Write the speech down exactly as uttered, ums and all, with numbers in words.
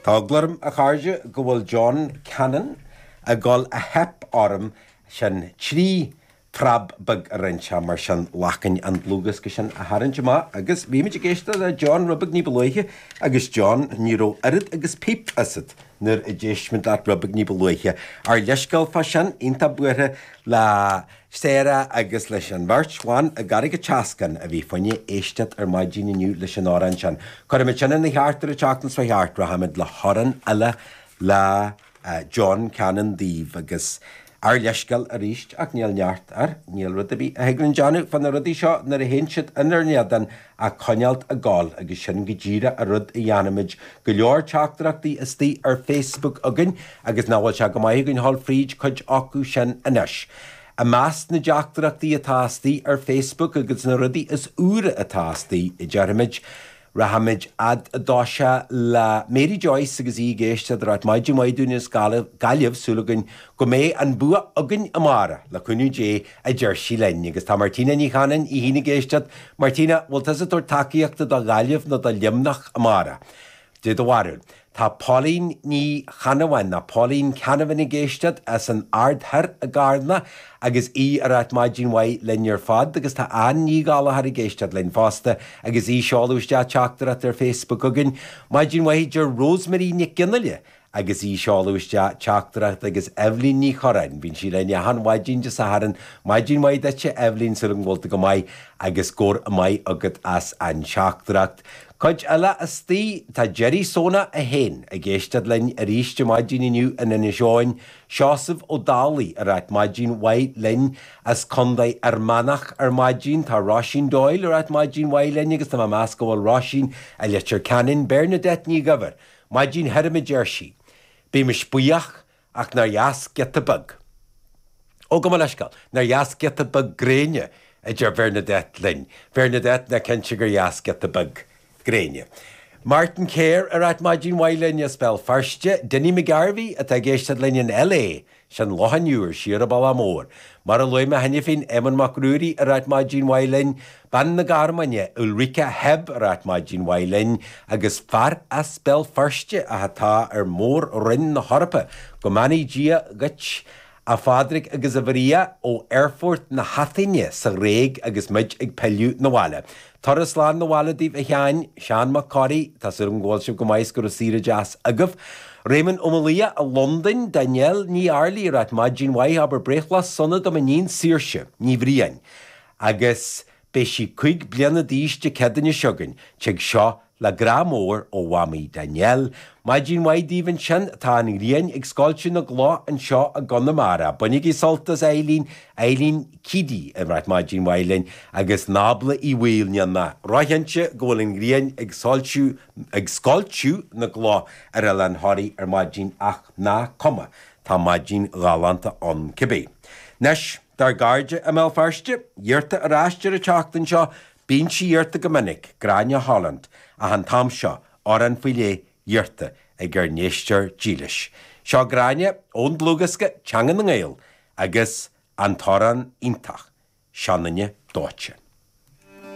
Tá eagla orm, a chairde, go bhfuil John Cannon ag dul a theip orm sin trí phreab beag a rinne sé mar sin lachain an dlúthdhiosca sin a tharraingt amach agus bhí muid ag éisteacht le John rud beag ní ba luaithe agus John ní raibh oiread agus píp asat nuair a d'éist muid leat rud beag ní ba luaithe. Ár leithscéal fá sin iontach buartha le Sarah agus leis an bheirt bhan i gCarraig an tSeascain a bhí fá choinne éisteacht ar maidin inniu leis an amhrán sin. Cuirfimid sin ina cheart ar an tseachtain seo thart rachaimid le hamhrán eile le uh, John Cannon daoibh agus ár leithscéal arís ach níl neart air, níl rud ar bith a thig linn déanamh fá na rudaí seo nuair a théann siad inár n-éadan ach coinneáil ag gabháil agus sin go díreach an rud a dhéanfaimid go leor teachtaireachtaí istigh ar Facebook againn agus nach bhfuil sé go maith againn dul fríd cuid acu sin anois. I measc na dteachtaireachtaí atá istigh ar Facebook agus na rudaí is úire atá istigh a déarfaimid, Rachaimid fhad i dtosach le Mary Joyce agus í ag éisteacht ag ráit maidin mhaith dúinn as Gaillimh súil againn go mbeidh an bua againn amárach le cúnamh Dé a deir sí linn agus tá Martina Ní Chanainn í féin ag éisteacht Martina bhfuil tusa ag tabhairt tacaíochta do Ghaillimh nó do Luimneach amárach. Dé do bharúil. Tá Pauline Ní Chanamhain ná Pauline Canavan ag éisteacht as an Aird Thoir i gCarna agus í ag ráit maidin mhaith linn ar fad agus tá Ann Ní Gallchóir ag éisteacht linn fosta agus í ag seoladh isteach teachtaireacht ar Facebook againn. Maidin mhaith deir Rosemary Nic Ginile agus í ag seoladh isteach teachtaireacht agus Evelyn Ní Choráin, bíonn sí linn achan mhaidin Dé Sathairn, maidin mhaith duitse Evelyn súil agam go bhfuil tú go maith agus go raibh maith agat as an teachtaireacht. Cuid eile istigh tá Jerry Sona a haon ag éisteacht linn arís ar maidin inniu in Inis Eoghain, Seosamh Ó Dálaigh ag ráit maidin mhaith linn as Contae Fhear Manach ar maidin, tá Róisín Doyle ag ráit maidin mhaith linn agus tá mé ag meas go bhfuil Róisín i Leitir Ceanainn Bernadette Ní Ghabhar, maidin thirim a deir sí. Bímis buíoch ach nár dheas giota beag. Ó go leisceáil, nár dheas giota beag gréine a deir Bernadette linn. Bernadette ná cinnte gur dheas giota beag gréine. Martin Kerr ag ráit maidin mhaith linn as Béal Feirste, Dinny McGarvey atá ag éisteacht linn in LA, sin Loch an Iúir siar an bealach mór. Mar a luaigh mé cheana féin Éamonn Mac Ruairí ag ráit maidin mhaith linn, bean na Garmaine Ulrika Heb ag ráit maidin mhaith linn, agus fear as Béal Feirste atá ar Mhór-Roinn na hEorpa, go mbeannaí Dia dhuit a Phádraig agus a Mharia ó Aerfort na hAithine sa Ghréig agus muid ag pilleadh 'na bhaile. Turas slán 'na bhaile daoibh a Sheáin, Seán Mac Corraidh, Tá súil agam go bhfuil sibh go maith go raibh saoire deas agaibh. Raymond Ó Malia i Londain, Danielle Ní Airlí ag ráit maidin mhaith abair breithlá sona do m'iníon Saoirse, Ní Bhriain. Agus beidh sí cúig bliana d'aois Dé Céadaoine seo chugainn, tig seo le grá mór ó Mhamaí Danielle. Maidin mhaith daoibh ansin tá an ghrian ag scoilteadh na gcloch anseo i gConamara. Bainigí sult as Eileen, Eileen Keady ag ráit maidin mhaith linn agus Nábla Uí Bhaoill níl mé róchinnte go bhfuil an ghrian ag soilsiú ag scoilteadh na gcloch ar Oileán Thoraí ar maidin ach nach cuma tá maidin ghalánta ann cibé. Anois dár gcairde i mBéal Feirste, iarrta ar ais ar an tseachtain seo, bíonn sí iarrta go minic, Gráinne Holland, ach an t-am seo amhrán faoi leith iarrta ag ár n-éisteoir dílis. Seo Gráinne ón dlúthdhiosca Teanga na nGael agus an t-amhrán iontach, Seanduine Dóite.